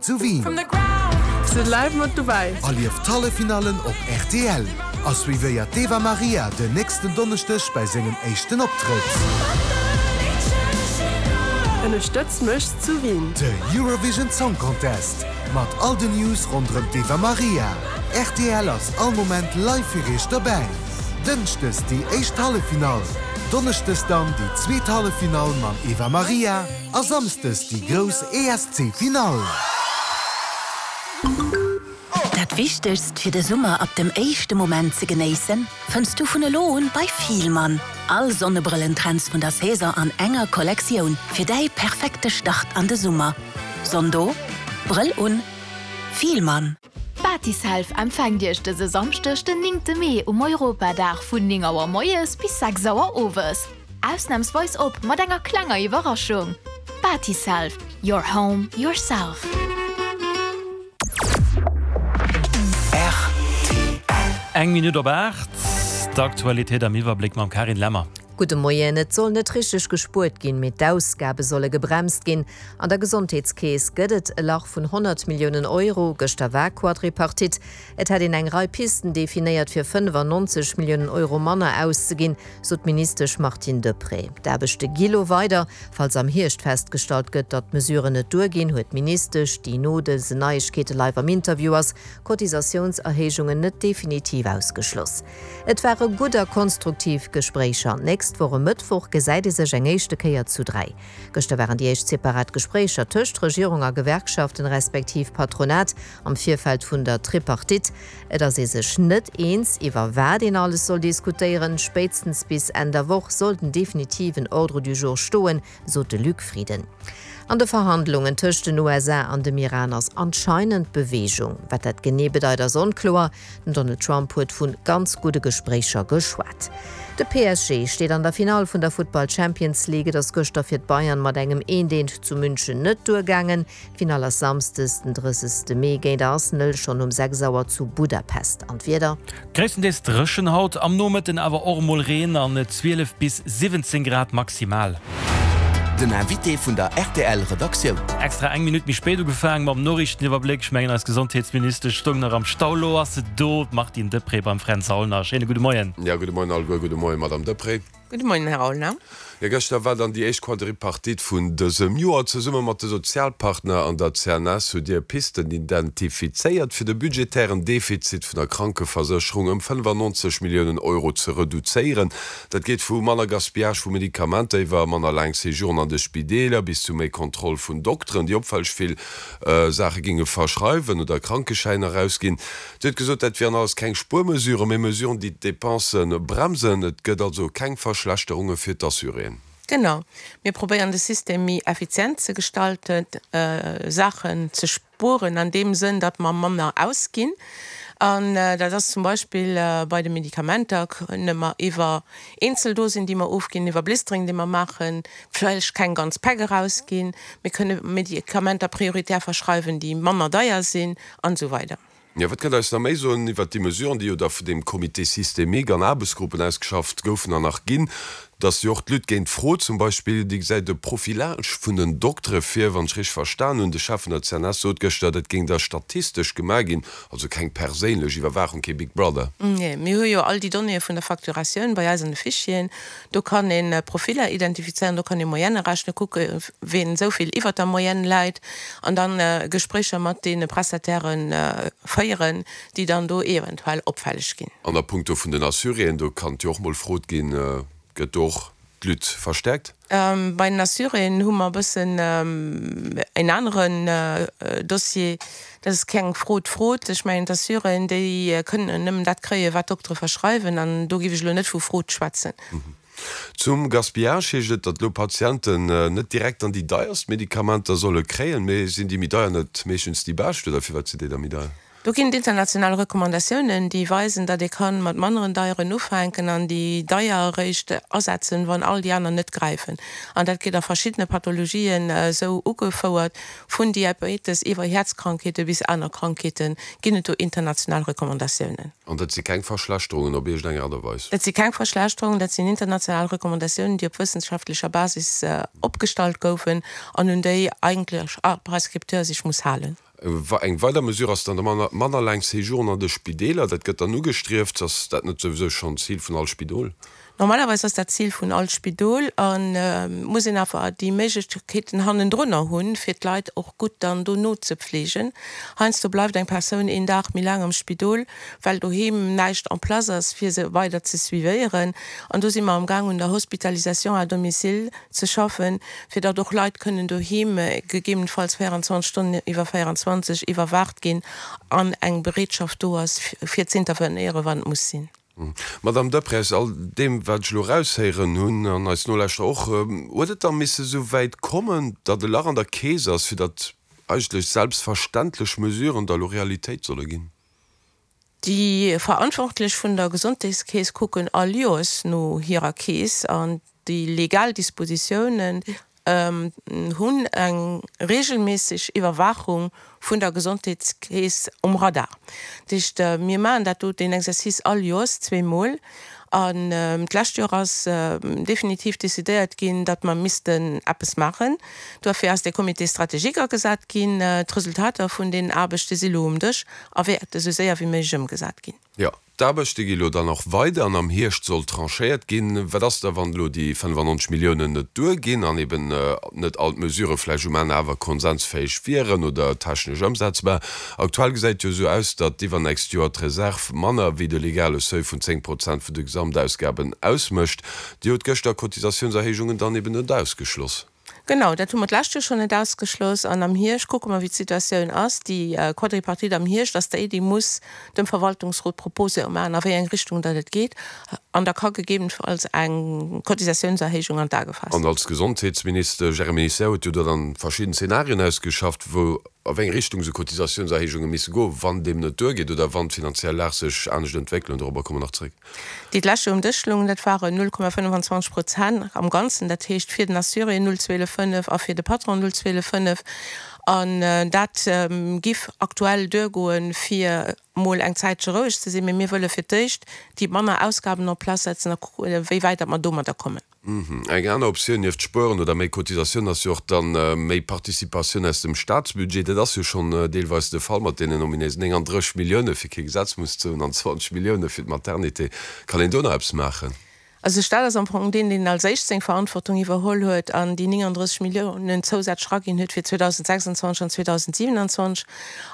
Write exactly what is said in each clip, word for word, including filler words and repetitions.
Zu Wien. Sidd live mat dobäi. Erlieft d'Halleffinallen op rtl a suivéiert d'Eva Marija den nächsten Donneschdeg bei sengem éischten Optrëtt. Ënnerstëtz mech zu Wien. De Eurovision Song Contest mat all den News ronderëm d'Eva Marija. Rtl ass all Moment live fir iech dobäi. Dënschdes déi éischt Halleffinall, Donneschdes dann déi zweet Halleffinall mam Eva Marija a Samsdes déi grouss ESC Finall. Dat Wichtegst fir de Summer ab dem éischte Moment ze genéissen, fënns du vun elo un bei Fielmann. All Sonnebrëllentrends vun der Saison an enger Kollektioun fir däi perfekte Start an de Summer. Sonn do, Brëll un, Fielmann. Batiself empfänkt Iech dëse Samschdeg den néngte Mee um Europadag vun néng Auer moies bis sechs Auer owes. Ausnamsweis op mat enger klenger Iwwerraschung. Batiself, your home, yourself. Eng Minutt op aacht, d'Aktualitéit am Iwwerbléck mam Carine Lemmer. Gudde Moien, Et soll net richteg gespuert ginn, mee d'Ausgabe solle gebremst ginn. An der Gesondheetskeess gëtt et e Lach vun honnert Milliounen Euro. Gëschter war Quadripartite. Et hätt een eng Rei Pisten definéiert, fir fënnefannonzeg Milliounen Euro manner auszeginn, sot d'Ministesch Martine Deprez. D'Aarbechte gi lo weider. Falls am Hierscht festgestallt gëtt, datt d'Mesuren net duerginn, huet d'Ministesch, déi no dësen Neiegkeete live am Interview ass, Cotisatiounserhéijungen net definitiv ausgeschloss. Et ware gutt a konstruktiv Gespréicher. D'nächst Woch e Mëttwoch gesäit ee sech eng éischte Kéier zu dräi. Gëschter waren déi éischt separat Gespréicher tëscht Regierung a Gewerkschaften respektiv Patronat am Virfeld vun der Tripartite. Et ass ee sech net eens, iwwer wat een alles soll diskutéieren. Spéitstens bis Enn der Woch soll den definitiven Ordre du jour stoen, sot de Luc Frieden. An de Verhandlungen tëscht den U S A an dem Iran ass anscheinend Beweegung. Wat dat genee bedeit ass onkloer. Den Donald Trump huet vu ganz gudde Gespréicher geschwat. De P S G steet an der Finall vun der Futtball Champions League. Et ass gëschter fir d'Bayern mat engem eent eent zu München net duergaangen. D'Finall ass samsdes den drëssegste Mee géint Arsenal schonn um sechs Auer zu Budapest. An d'Wieder? Gréisstendeels dréchen haut, am Nomëtten awer och emol Reen an zwielef bis siwwenzéng Grad maximal. Den Invité vun der R T L-Redaktioun. Extra eng Minutt méi spéit ugefaangen mam Noriichteniwwerbléck. Ech mengen, eis Gesondheetsministesch stoung nach am Stau. Lo ass se do, d'Martine Deprez beim Fränz Aulner. Schéine gudde Moien. Ja, gudde Moien alleguer. Gudde Moien, Madame Deprez. Gudde Moien, Här Aulner. Jo, gëschter war dann déi éischt Quadripartite vun dësem Joer. Zesumme mat de Sozialpartner an der C N S hutt Dir Pisten identifizéiert, fir de budgetären Defizit vun der Krankeversécherung ëm fënnefannonzeg Milliounen Euro ze reduzéieren. Dat geet vu manner Gaspillage vu Medikamenter iwwer manner laang Séjouren an de Spideeler bis zu méi Kontroll vun Dokteren, déi opfälleg vill Saache géinge verschreiwen oder Krankeschäiner erausginn. Dir hutt gesot, dat wieren alles keng Spuermesuren, mee Mesuren, déi d'Dépense bremsen. Et gëtt also keng Verschlechterunge fir d'Assuréen. Genau. Mir probéieren de System méi effizient ze gestalten, Saachen ze spueren an deem Sënn, datt mer manner ausginn. An dat ass zum Beispill bei de Medikamenter, kënne mer iwwer Eenzeldosen, déi mer ofginn, iwwer Blistering, déi mer maachen, vläicht keng ganz Päck erausginn. Mir kënne Medikamenter prioritär verschreiwen, déi manner deier sinn an esou weider. Jo, wat kënnt Der eis nach méi soen iwwert déi Mesuren, déi jo da vun deem Comité systémique an Aarbechtsgruppen ausgeschafft goufen an nach ginn, dass jo och d'Lutte géint d'Frod zum Beispill, déi gesäit de Profilage vun den Doktere vir, wann ech richteg verstan hunn. De Chef vun der C N S sot gëschter, dat géing da statistesch gemaach ginn, also keng perséinlech Iwwerwaachung, kee Big Brother. Nee, mir hu jo all déi Donnéeë vun der Facturatioun bei eis an de Fichieren. Do kann een Profiller identifizéieren, do kann ee Moyenne rechnen, kucke wien esou vill iwwer der Moyenne läit an dann Gespréicher mat deene Prestataire féieren, déi dann do eventuell opfälleg ginn. An a puncto vun den Assuréen, do kann jo och mol Frot ginn, gëtt do och d'Lutte verstärkt? Bei den Assuréen hu mer e bëssen en aneren Dossier. Dat ass keng Frot, Frot. Ech mengen, d'Assuréen, déi kënnen nëmmen dat kréien, wat d'Doktere verschreiwen, an do géif ech elo net vu Frot schwätzen. Zum Gaspillage heescht et, datt elo Patienten net direkt an déi deierst Medikamenter solle kréien, mee sinn déi méi deier net meeschtens déi bescht, oder firwat sinn déi da méi deier? Do ginn et international Recommandatiounen, déi weisen, datt ee kann mat manneren deieren ufänken an déi deier eréischt asetzen, wann all déi aner net gräifen. An dat gëtt a verschiddene Pathologien esou ugefouert, vun Diabetes iwwer Häerzkrankheete bis aner Krankheete ginn et do international Recommandatiounen. An dat si keng Verschlechterungen op iergendeng Aart a Weis? Dat si keng Verschlechterungen, dat sinn international Recommandatiounen, déi op wëssenschaftlecher Basis opgestallt goufen an un déi eigentlech all Prescripteur sech muss halen. Eng weider Mesure ass dann de manner laang Séjouren an de Spideeler. Dat gëtt dann ugestrieft. Ass dat net souwisou schonn d'Zil vun all Spidol? Normalerweis ass dat d'Zil vun all Spidol a muss een awer déi Méiglechkeeten hannendrunner hunn, fir d'Leit och gutt dann dono ze pflegen. Heiansdo bleift eng Persoun een Dag méi laang am Spidol, well doheem näischt en place ass, fir se weider ze suivéieren. An do si mer amgaang un der Hospitalisation à domicile ze schaffen, fir datt och Leit kënnen doheem gegebenenfalls véierundzwanzeg Stonnen iwwer véierundzwanzeg iwwerwaacht ginn an eng Bereetschaft do ass, fir z'intervenéieren, wann et muss sinn. Madamm Deprez, aus all deem, wat ech elo eraushéieren hunn, an eis Nolauschterer och, huet et da misse esou wäit kommen, datt e Lach an der Keess ass, fir datt eigentlech selbstverständlech Mesuren da elo Realitéit solle ginn? Déi Verantwortlech vun der Gesondheetskeess kucken all Joers no hirer Keess an déi legal Dispositiounen hunn eng reegelméisseg Iwwerwaachung vun der Gesondheetskeess um Radar. Dat heescht, mir maachen dat do, deen Exercice all Joers zweemol. An d'lescht Joer ass definitiv decidéiert ginn, datt mer missten eppes maachen. Duerfir ass dee Comité stratégique agesat ginn. D'Resultater vun deenen Aarbechte si lo um Dësch a wäerte sou séier wéi méiglech ëmgesat ginn. Jo, d'Aarbechte gi lo dann och weider an am Hierscht soll tranchéiert ginn. Wat ass da, wann elo déi fënnefannonzeg Milliounen net duerginn an eben net all d'Mesurë vläicht um Enn awer konsensfäeg wieren oder technesch ëmsetzbar? Aktuell gesäit et jo esou aus, datt iwwernächst Joer d'Reserv manner wéi de legale Seuil vun zéng Prozent vun de Gesamtausgaben ausmécht. Dir hutt gëschter Cotisatiounserhéijungen dann eben net ausgeschloss. Genau, dat hu mer d'lescht Joer schonn net ausgeschloss. An am Hierscht kucke mer, wéi d'Situatioun ass. Déi Quadripartite am Hierscht ass déi, déi muss dem Verwaltungsrot Propose maachen, a wéi eng Richtung datt et geet. An da ka gegebenenfalls eng Cotisatiounserhéijung an d'A gefaasst An als Gesondheetsminister Jeremy Serre huet jo do dann verschidden Zenarien ausgeschafft, wou a wéi eng Richtung esou Cotisatiounserhéijunge misse goen, wann deem net duergeet oder wann d'finanziell Lag sech anescht entwéckelen. Dorobber komme mer nach zréck. Déi d'lescht Joer um Dësch loungen, dat waren null Komma fënnefenzwanzeg Prozent am Ganzen, dat heescht fir den Assuré null zwielef fënnef a fir de Patron null zwielef fënnef. An dat giff aktuell duergoen, fir mol eng Zäitche roueg ze sinn. Mee mir wëlle fir d'éischt déi manner Ausgaben en place setzen a kucken, wéi wäit datt mer domadder kommen. Eng aner Optioun nieft Spueren oder méi Cotisatioun ass jo och dann méi Participatioun aus dem Staatsbudget. Dat ass jo schonn deelweis de Fall mat deenen ominéisen néngandrësseg Millioune fir kee Gesetz muss ze hunn an zwanzeg Millioune fir d'Maternité. Kann een do nach eppes maachen? Also de Staat ass am Fong deen, deen als éischt seng Verantwortung iwwerholl huet an déi néngandrësseg Milliounen zousätzlech eraginn huet fir zweedausendsechsundzwanzeg an zweedausendsiewenundzwanzeg.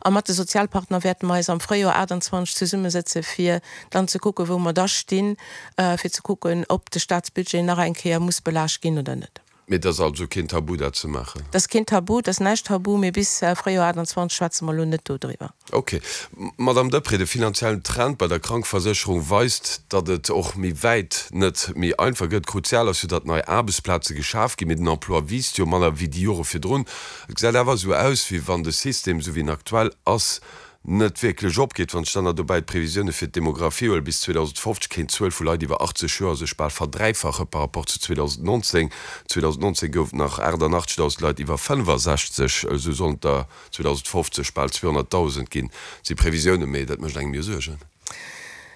A mat de Sozialpartner wäerte mer eis am Fréijoer aachtundzwanzeg zesummesëtze fir dann ze kucken, wou mer da stinn, fir ze kucken, ob de Staatsbudget nach eng Kéier muss belaascht ginn oder net. Mee et ass also keen Tabu, dat ze maachen? Et ass keen Tabu, et ass näischt tabu, mee bis Fréijoer aachtundzwanzeg schwätze mer elo net dodriwwer. Ok. Madamm Deprez, de finanziellen Trend bei der Krankversécherung weist, datt et och méi wäit net méi einfach gëtt. Kruzial ass jo, datt nei Aarbechtsplaze geschaf ginn, mee den Emploi wiisst jo manner wéi déi Jore virdrun. Et gesäit awer esou aus, wéi wann de System, esou wéi en aktuell ass, net wierklech opgeet. Wann ech dann nach dobäi d'Previsioune fir d'Demographie huelen, bis zweedausendfofzeg kéint d'Zuel vu Leit iwwer achtzeg Joer sech bal verdräifache par rapport zu zweedausendnonzéng. zweedausendnonzéng gouf et nach achtannachtzegdausend Leit iwwer fënnefasechzeg, esou sollen et der zweedausendfofzeg bal zweehonnertdausend ginn. Dat si Previsiounen, mee dat mécht engem jo Suergen.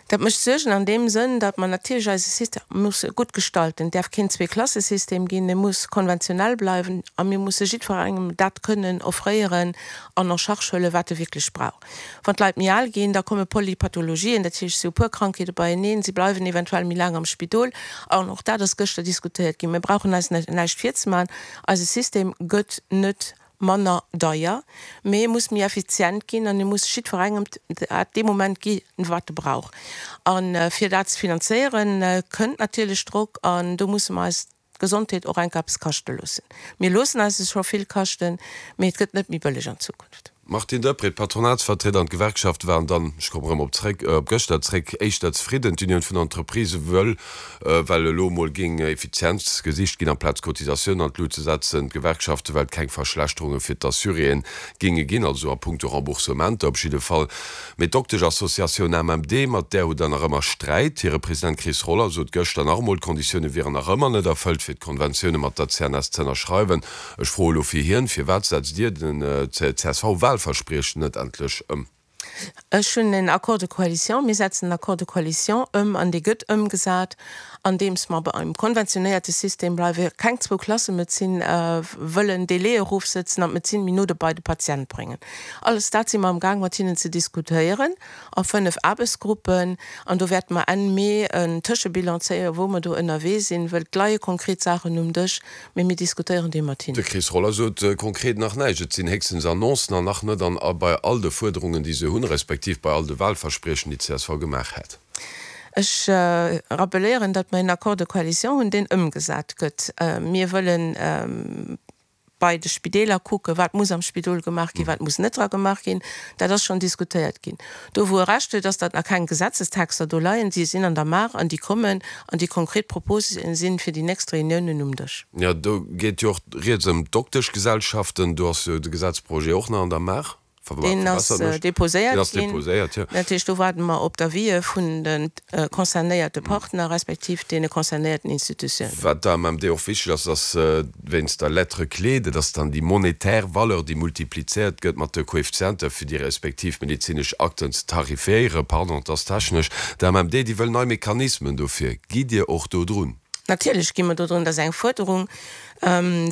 Dat mécht Suergen an deem Sënn, datt mer natierlech eise System musse gutt gestalten. Et däerf keen Zweeklassesystem ginn, e muss konventionell bleiwen a mir musse jiddwerengem dat kënnen offréieren an en charge huelen, wat e wierklech brauch. Wann d'Leit méi al ginn, da komme Polypathologien, dat heescht, si hu puer Krankheete beieneen, si bleiwen eventuell méi laang am Spidol. An och dat ass gëschter diskutéiert ginn. Mir brauchen eis näischt virzemaachen, eise System gëtt net manner deier, mee e muss méi effizient ginn an e muss jiddwerengem dat dee Moment gi wat e brauch. A fir dat ze finanzéieren, kënnt natierlech Drock an do musse mer eis d'Gesondheet och enk eppes kaschte loossen. Mir loossen eis se scho vill kaschten, mee et gëtt net méi bëlleg an Zukunft. Martine Deprez, D'Patronatsvertrieder an d'Gewerkschafte waren dann, ech kommen erëm op zréck, op gëschter zréck, éischter zefridden. D'Unioun vun Entreprisë wëll, well elo emol géing Effizienz gesicht ginn, amplaz d'Cotisatiounen an d'Lut ze setzen. D'Gewerkschafte well keng Verschlechterunge fir d'Assuréeën géinge ginn, also a punkto Remboursementer op jidde Fall. Mee d'Doktesch-Associatioun A M M D, mat där hutt Der nach ëmmer Sträit. Hire President Chris Roller sot gëschter nach emol, d'Konditioune wieren nach ëmmer net erfëllt, fir d'Konventioune mat der C N S z'ënnerschreiwen. Ech froe elo fir hien, Firwat setzt Dir den C S V-Wahlverspriechen net endlech ëm? Ech hunn en Accord de coalition, mir setzen den Accord de coalition ëm an dee gëtt ëmgesat. andeems mer beim konventionéierte System bleiwen, keng Zwou-Klasse-Medezin wëllen, Délaië erofsëtzen an d'Medezin méi no bei de Patient bréngen. Alles dat si mer amgaang mat hinnen ze diskutéieren a fënnef Aarbechtsgruppen an do wäerte mer Enn Mee en Tëschebilan zéien, wou mer do ënnerwee sinn, wëll et leie konkret Saachen um Dësch, mee mir diskutéieren déi mat hinnen. De Chris Roller sot konkret nach näischt. Et sinn héchstens Annoncen an nach net an bei all de Fuerderungen, déi se hunn, respektiv bei all de Wahlverspriechen, déi d'CSV gemaach hätt. Ech rappeléieren, datt mer en Accord de coalition hunn, deen ëmgesat gëtt. Mir wëllen bei de Spideeler kucken, wat muss am Spidol gemaach ginn, wat muss net dra gemaach ginn. Dat ass schonn diskutéiert ginn. Do wou e Recht huet, ass, datt nach keng Gesetzestexter do leien. Déi sinn an der Maach an déi kommen an déi konkret Proposë sinn fir déi nächst Reuniounen um Dësch. Jo, do geet jo och rieds ëm d'Dokteschgesellschaften. Do ass jo de Gesetzprojet och nach an der Maach. Deen ass deposéiert ginn. Dat heescht, do waarde mer op d'Avisë vun de concernéierte Partner respektiv deene concernéierten Institutiounen. Wat der AMMD och wichteg ass, ass wéinst der Lettre clé, dat ass dann déi monetär Valeur, déi multiplizéiert gëtt mat de Koeffizienter, fir déi respektiv medezinesch Akten ze tarifiéieren. Pardon, et ass technesch. D'AMMD, déi wëll nei Mechanismen dofir. Gitt Dir och do drun? Natierlech gi mer do drun. Dat ass eng Fuerderung.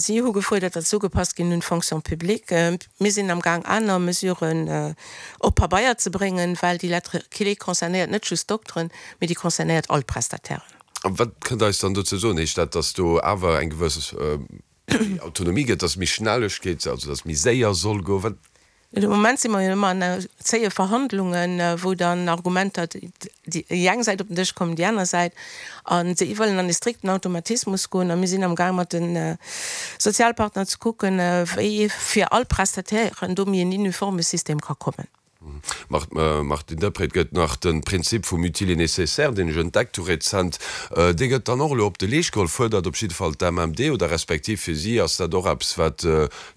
Si hu gefuerdert, datt se ugepasst ginn un d'Fonction publique. Mir sinn am Gaang, aner Mesuren op Pabeier ze bréngen, well déi Lettre clé concernéiert net just d'Dokteren, mee déi concernéiert all d'Prestatairen. A wat kënnt Der eis dann dozou soen? Heescht dat, datt do awer eng gewëss Autonomie gëtt, datt méi Schnellegkeet, also datt méi séier soll goen? Wat? De Moment si mer jo ëmmer an zéie Verhandlungen, wou dann Argumenter déi eng Säit op den Dësch kommen, déi aner Säit. A si wëllen an e strikten Automatismus goen. A mir sinn amgaang mat de Sozialpartner ze kucken, wéi fir all Prestatairen do méi en uniforme System ka kommen. Martine Deprez, Et gëtt nach de Prinzip vum utile et nécessaire, deen ech entdeckt hu rezent. Dee gëtt dann och elo op de Leescht geholl, fuerdert op jidde Fall d'AMMD, oder respektiv fir si ass dat och eppes, wat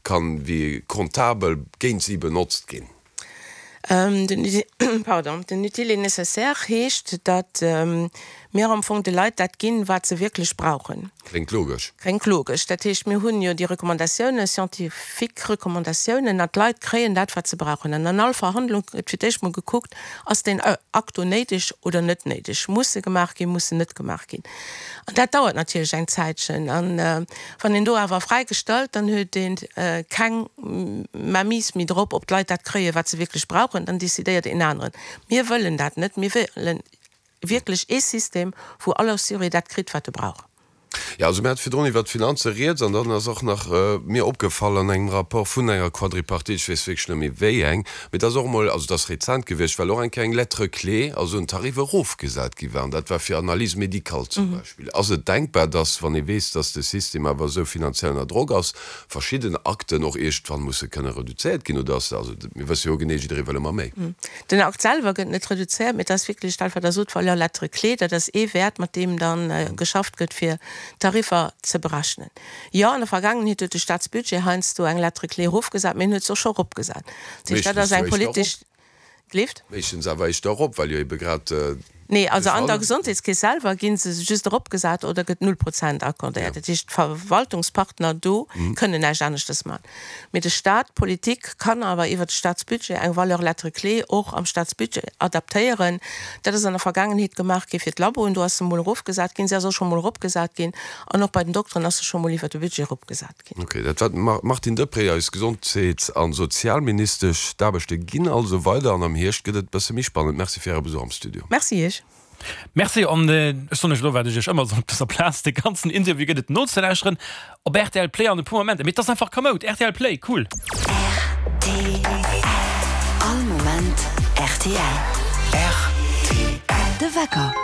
kann wéi comptabel géint si benotzt ginn. Pardon, den utile et nécessaire heescht, datt mir am Fong de Leit dat ginn, wat se wierklech brauchen. Kléngt logesch. Kléngt logesch. Dat heescht, mir hunn jo déi Recommandatiounen, scientifique Recommandatiounen, an d'Leit kréien dat, wat se brauchen. An an all Verhandlung gëtt fir d'éischt mol gekuckt, Ass deen Akt do néideg oder net néideg? Muss e gemaach ginn, muss en net gemaach ginn? An dat dauert natierlech eng Zäitchen. An wann een do awer fräi gestallt, dann huet ee keng Mainmise méi drop, ob d'Leit dat kréien, wat se wierklech brauchen. Dann decidéiert een aneren. Mir wëllen dat net. Mir wëllen wierklech ee System, wou all Assuré dat kritt, wat e brauch. Jo, also mir hate virdrun iwwert d'Finanze rieds an dann ass och nach mir opgefall an engem Rapport vun enger Quadripartite, ech weess wierklech net méi wéi eng, mee et ass och emol, also et ass rezent gewiescht, well och eng Kéier eng Lettre clé, also en Tarif erofgesat gi war an dat war fir Analyses médicales zum Beispill. Ass et denkbar, dass, wann ee weess, dass de System awer esou finanziell ënner Drock ass, verschidden Akten och iergendwann musse kënne reduzéiert ginn oder ass, also mir wësse jo genee, jidderee wëll ëmmer méi. Den Akt selwer gëtt net reduzéiert, mee et ass wierklech dat, wat Der sot, Valeur lettre clé, dat ass ee Wäert, mat deem da geschafft gëtt, fir d'Tariffer ze berechnen. Jo, an der Vergaangenheet huet de Staatsbudget heiansdo eng Lettre clé erofgesat, mee en huet se och scho eropgesat. Dat heescht, dat ass eng politesch. Gleeft? Meeschtens awer éischter erop, well jo ebe grad de Nee, also an der Fall. Gesondheetskeess selwer gi se just eropgesat oder gëtt null Prozent accordéiert. Dat heescht, d'Verwaltungspartner do kënnen näischt aneschtes maachen. Mee de Staat, d'Politik kann awer iwwert de Staatsbudget eng Valeur lettre clé och am Staatsbudget adaptéieren. Dat ass an der Vergaangenheet gemaach gi fir d'Laboen, do ass se mol erofgesat ginn, se ass och scho mol eropgesat ginn an och bei den Dokteren ass se scho mol iwwert de Budget eropgesat ginn. Ok, dat war d'Martine Deprez, eis Gesondheets a Sozialministesch. D'Aarbechte ginn also weider an am Hierscht gëtt et bësse méi spannend. Merci fir Äre Besuch am Studio. Merci Iech. Merci an ech soen iech elo wat ech iech ëmmer soen op dëser Plaz, de ganzen Interview gëtt et nozelauschteren op rtl Play an e puer Momenter. Mee et ass einfach kamoud, rtl Play, cool! Rtl, All Moment rtl. Rtl. De Wecker.